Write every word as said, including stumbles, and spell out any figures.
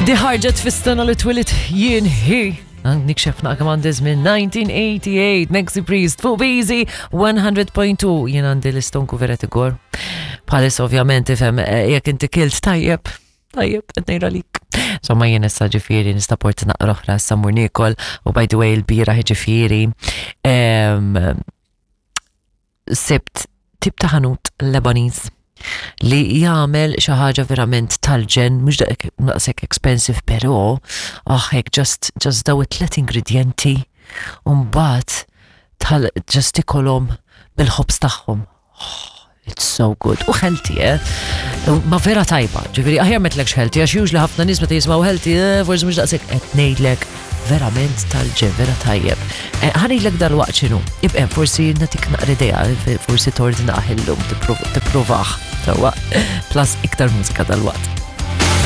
Di ħarġet fis-sena li twelidt jien hi. Nikxef naqra kemm għandi żmien, nineteen eighty-eight, Maxi Priest, fuq Easy one hundred point two. Jien għandi l-istonku vera tigor. Bħalis ovvjament ifhem eh, jekk inti kilt tajjeb, tajjeb, qed ngħidha lik. Insomma, jien issa ġifieri nista' porti naqra oħra, issa mmur niekol. U by the way, il-bieraħ ġifieri em, sibt tip ta' ħanut Lebanese li jagħmel xi ħaġa verament tal-ġenn, mhux daqshekk expensive, però ah, hekk just just daw it-tlet ingredienti u mbagħad tal just tikolhom bil-ħobż tagħhom. Oh, it's so good. U healthy, eh? Ma vera tajba, ġifieri, aħjar m'għedtlekx healthy, għax usually ħafna nies meta jismgħu healthy, eh, forsi mhux daqshekk. Qed ngħidlek verament tal-ġenn, vera tajjeb. Eh, Ħa ngħidlek dal-waqt x'inhu. Ibqem, forsi nagħtik naqra idea, forsi tordna illum tipprovah. Sewwa, plus iktar mużika dal-waqt.